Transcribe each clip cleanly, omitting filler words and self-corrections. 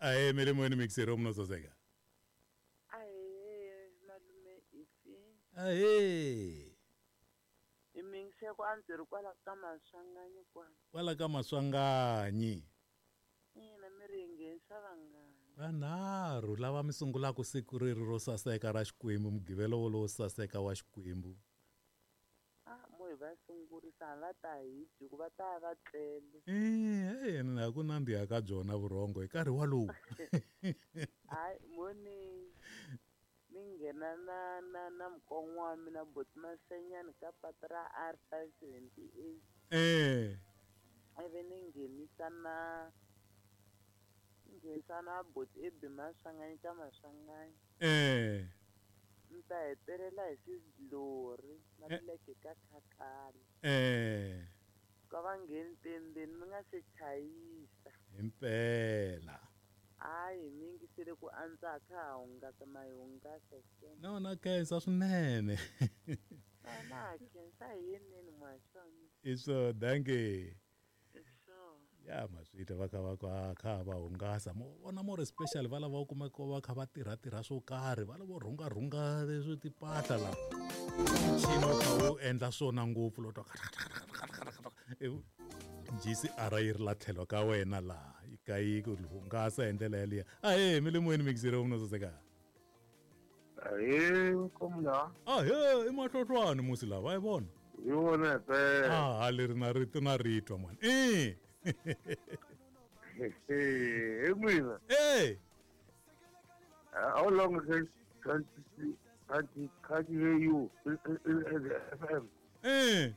Ahee, mi le moyeni mixero munhu saseka. Ahee, malume Ifi. Ahee. Hi mingiseko a ndzi ri kwala ka Maswanganyi kwala. Kwala ka Maswanganyi. Ina mi ri hi nghenisa vangani. Vanharhu lava mi sungulaka siku reri ro saseka ra Xikwembu, mugqivela wolowo saseka wa Xikwembu. A mo hi va sungurisa a va ta hi dyi ku va ta va tlele. Eh, na ku nandziha ka byona vurhongo hi nkarhi walowu. Hayi mo ni ni nghena na na na mukon'wana wa mina boti Masenyani ka patu ra R 578. Eh. Ivi ni nghenisa na nghenisa na boti Ebi Maswanganyi ka Maswanganyi. Eh. Ni ta hetelela hi xidlori na leke ka khakhala. Eh. Ka va ngheni tendeni mi nga se chayisa. Himpela. Hayi mi yingisele ku antswa a kha ha hungasa ma hi hungasa ke. No na khensa swinene. Na khensa hi yeneni muhaxi wa mina. I swo dankie. Sure. Ya ma swi twa va kha va kha kha va hungasa mo vona more special va lava u kumeka va kha va tirha tirha swo karhi va lava rhunga rhunga leswi timpahla la muchini wu kha wu endla swona ngopfu lo twa GCR yi ri la tlhelo ka wena laha yi ka yi ku hungasa hi ndlela yaliya ahee mi le moyeni mixere wa munhu saseka. Ahee nkomula. Ahee i mahlohlwani musi lava a yi vona. Hi wona himpela. Ah leri na rito na ritwa mani. Eh. He mina. Eh. How long has can't can't hear you in the FM? Eh.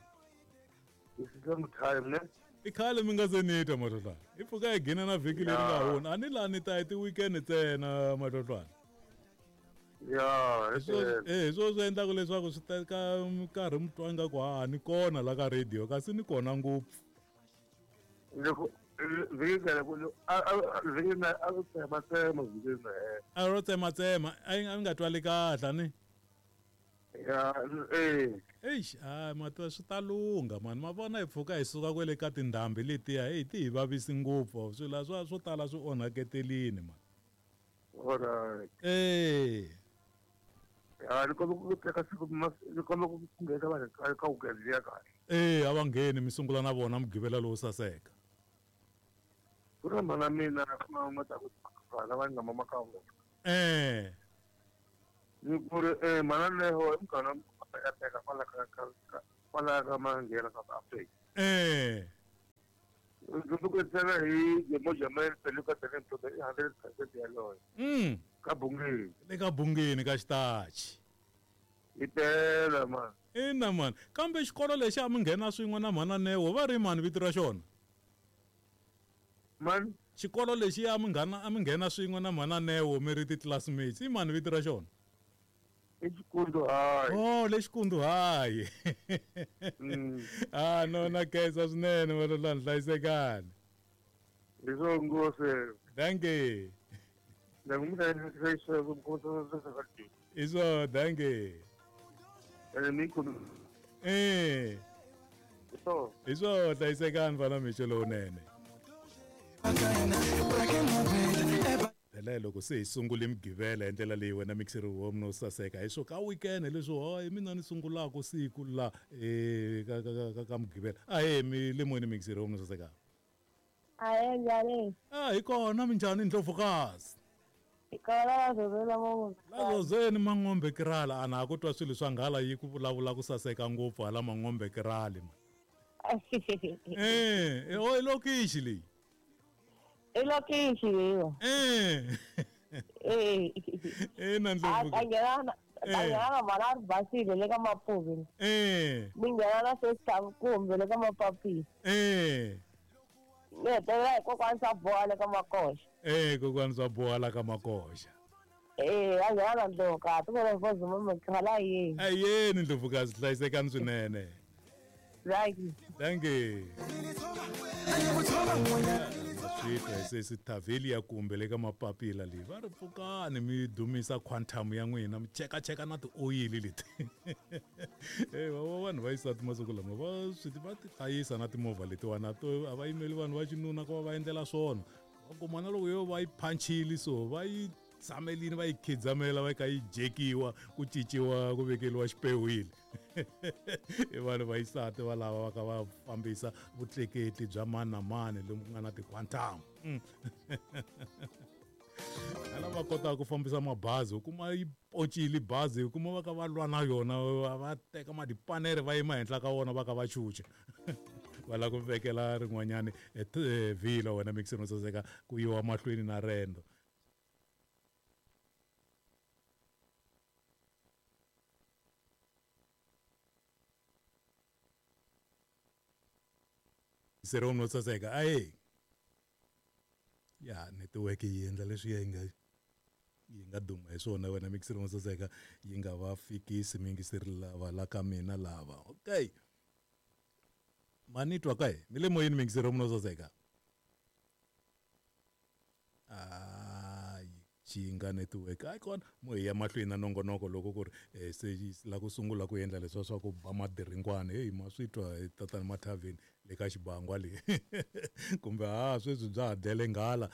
It's long time, ne? I khale mi nga se ni twa mahlohlwana. I pfuka hi gina na vhiki leri nga hundza. A ni laha ni ta hi ti-weekend ntsena mahlohlwana. Ya, Hi swo eh hi swo swi endlaka leswaku swi teka nkarhi mi twa ingaku ha ni kona la ka radio kasi ni kona ngopfu. Loko vhiki na vhiki na a ro tsematsema vhiki na A ro tsematsema a yi nga twali kahle ni. Ya, eh. Eish, hayi mativa swi ta lungha mani ma vona hi pfuka hi suka kwele ka tindhambi letiya heyi ti hi vavisi ngopfu swilo swa swo tala swi onhaketelini mani. Alright. Eh. Ya, ni kombela ku teka siku ni kombela ku nghena vanhu ka ka weekend liya kahle. Eh, a va ngheni mi sungula na vona mugqivela lowo saseka. Ku na mhana mina ku na ta ku vana va nga mama ka vona. Eh. Ni ku ri eh mhana leho i muganga ya teka kwala ka ka kwala ka Manghena South Africa. Eh. Ndzi ku ntsena hi Mojaman Peluka Tene Mtoto i 100% yaloyo. Ka Bungeni. Le ka Bungeni ka xitachi. Hi tela man. Ina man. Kambe xikolo lexi a mi nghena swin'we na mhana Neo va ri mani vito ra xona? Man. Xikolo lexi a mi nghena a mi nghena swin'we na mhana Neo mi ri ti-classmates i mani vito ra xona? I Xikundu High. Oh, le Xikundu High. Ah, no na khensa swinene valolani hlayisekani. Hi swo ngopfu. Dankie. Hi swo dankie. Eh. Hi swo hlayisekani fana mixo lowunene. Phela loko se hi sungule mugqivela hi ndlela leyi wena mixer wa mina wo saseka hi swo ka weekend leswo hayi mina ni sungulaka siku la ka ka ka ka mugqivela ahee mi le moyeni mixer wa mina saseka. Ahee njhani? A hi kona minjhani ndlovukazi? Hi kona la zozeni Man'ombe. La zozeni Man'ombe Kirala a na ha ku twa swilo swa nghala yi ku vulavula ku saseka ngopfu hala Man'ombe Kirali man. Eh, o i lokixi leyi. I lokixi leyiwa. Eh. Eh. Ina ndlovu. A nghena na a nghena na mhana a ri basile le ka Mapuve. Eh. Ni nghena na sister Kumbe le ka Mapapila. Eh. Ni hetelela hi kokwani swa boha le ka Makoxa. Eh, kokwani swa boha la ka Makoxa. Eh, a nghena na ndlovukazi ku ri vozuma mikhala yini. Ayeni ndlovukazi hlayisekani swinene. Thank you. Thank you. Swi twa hi sesi Tavelia kumbe le ka mapapila leyi va ri pfukani mi dumisa quantum ya n'wina mi chekacheka na tioyili leti. Eh va vanhu va xisati masiku lama va swi va ti hlayisa na timovha letiwana to a va yimeli vanhu va xinuna ku va va endlela swona. Va kuma na loko yo va yi phanchile so va yi tshamelini va yi khidzamela va yi ka yi jekiwa ku cinciwa ku vekeliwa xipewile. I vanhu va xisati va lava va ka va fambisa vutleketli bya mani na mani lomu ku nga na ti-quantum. Hala va kotaka ku fambisa mabazi, u kuma yi poncile bazi, u kuma va ka va lwa na yona, va teka madipanere va yima henhla ka wona va ka va chucha. Va lava ku vekela rin'wanyani vhilwa wena mixini wo saseka ku yiwa mahlweni na rendo. Seromo no saseka aye ya netiweke yi endla leswi yi nga duma hi swona wena mixini wo saseka, yi nga va fikisi miyingiseri lava la ka mina lava. Okay, ma ni twa kae mi le moyeni miyingiseri no saseka? Ayi, chinga network hayi kona mo hi ya mahlweni na nongonoko loko ku ri se yi la ku sungula ku endla leswiya swa ku ba madiringwani. Heyi, ma swi twa hi tatana Mathavini le ka xibangwa leyi kumbe ha sweswi bya ha dlele nghala.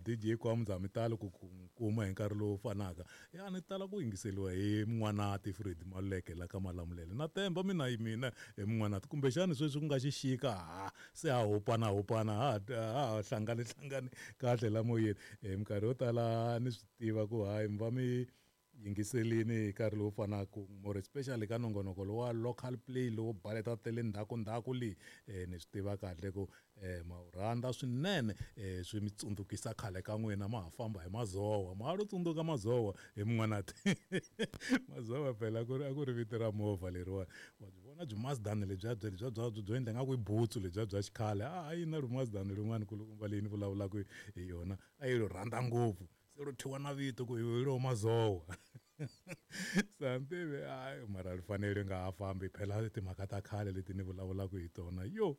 DJ Kwamza mi tali ku kuma hi nkarhi lowu fanaka ya ni tala ku yingiseliwa hi N'wanati Fred Maluleke la ka Malamulele na temba mina yi mina hi Mun'wanati kumbexani sweswi ku nga xixika ha se ha hupana hupana ha ha hlangane hlangane kahle la moyeni. Minkarhi yo tala ni swi tiva ku hayi mi va mi yingiselini hi nkarhi lowu fanaka, more especially ka nongonoko lowa local play lowo baleta ta le ndzhaku ndzhaku leyi. Ni swi tiva kahle ku ma wu rhandza swinene, swi mi tsundzukisa khale ka n'wina ma ha famba hi mazowa. Ma ha lo tsundzuka mazowa hi Mun'wanati? Mazowa phela ku ri a ku ri vito ra movha leriwani, wa byi vona byi Mazdani lebyiya bya byo endla nga ku i butsu lebyiya bya xikhale. A yi na ri Mazdani rin'wana kulukumba leyi ni vulavulaka hi yona, a yi ri rhandza ngopfu se ro thyiwa na vito ku hi ro mazowa. Se a ni tivi, hayi mara ri fanele ri nga ha fambi phela timhaka ta khale leti ni vulavulaka hi tona yo.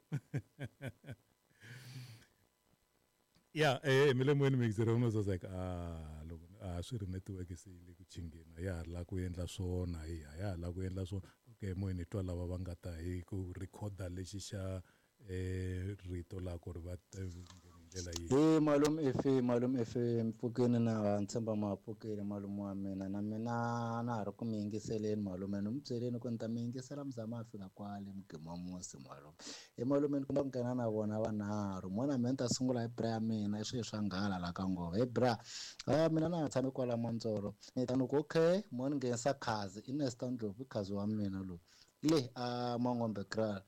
Ya mi le moyeni mixer no saseka. A loko a swi ri network se yi le ku chingeni, a ya ha ri la ku endla swona, hi a ya ha la ku endla swona. Okay, moyeni hi twa lava va nga ta hi ku rhikhoda lexi xa rito la ku ri va hi ndlela yihi. He malume, efe malume, efe mpfukeni na ntshemba ma pfukile malume wa mina, na mina na ha ri ku mi yingiseleni malume, ni mi byeleni ku ni ta mi yingisela mi za ma fika kwale mugima musi malume. He malume, ni komba ku nghena na vona vanharhu mona mina ni ta sungula hi bra ya mina i swilo swa nghala la ka ngova. He bra, a mina na ha tshami kwala Mantsoro, ni ta ni ku okay mo ni nghenisa khazi i Nesta Ndlovu, i khazi wa mina loyi le a Mangombe Kraal,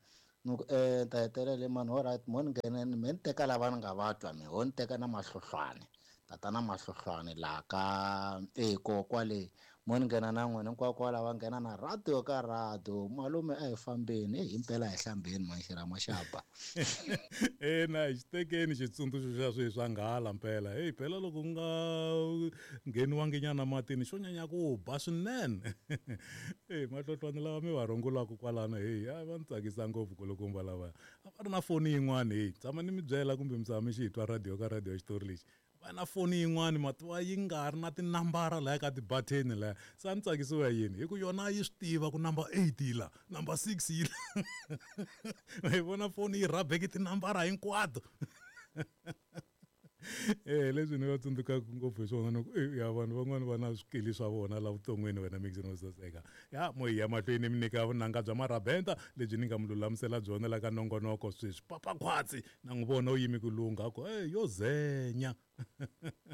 ni ku ta hetelela mani. Alright, mo ni nghena me ni teka lava ni nga va twa me ho ni teka na mahlohlwane tatana mahlohlwane laha ka e ko kwale mo ni nghena na n'wina hinkwako kwala va nghena na radio ka radio malume a hi fambeni e himpela hi hlambeni manxirama xaba. Ina, hi xi tekeni xitsundzuxo xa swilo swa nghala mpela. Heyi phela loko ku nga ngheniwangi nyana matini xo nyanya ku ba swinene. Eyi mahlohlwane lava mi va rungulaka kwalano, heyi a va ni tsakisa ngopfu kulukumba lava a va ri na foni yin'wana. Heyi, tshama ni mi byela kumbe mi tshama mi xi twa radio ka radio xitori lexi va na foni yin'wani mativa yi nga ri na tinambara laya ka tibatheni laya. Se a ni tsakisiwa yini hi ku yona yi swi tiva ku number 8 yi la, number 6 yi la, hi vona foni yi rhabeke tinambara hinkwato. Leswi ni va tsundzukaka ngopfu hi swona ni ku ya vanhu van'wani va na swikili swa vona la vuton'wini wena mixini wo saseka. Ya mo hi ya mahlweni mi nyika vunanga bya marabenta lebyi ni nga mi lulamisela byona la ka nongonoko sweswi. Papa Khwatsi na n'wi vona u yimi ku lungha ku e yo zenya.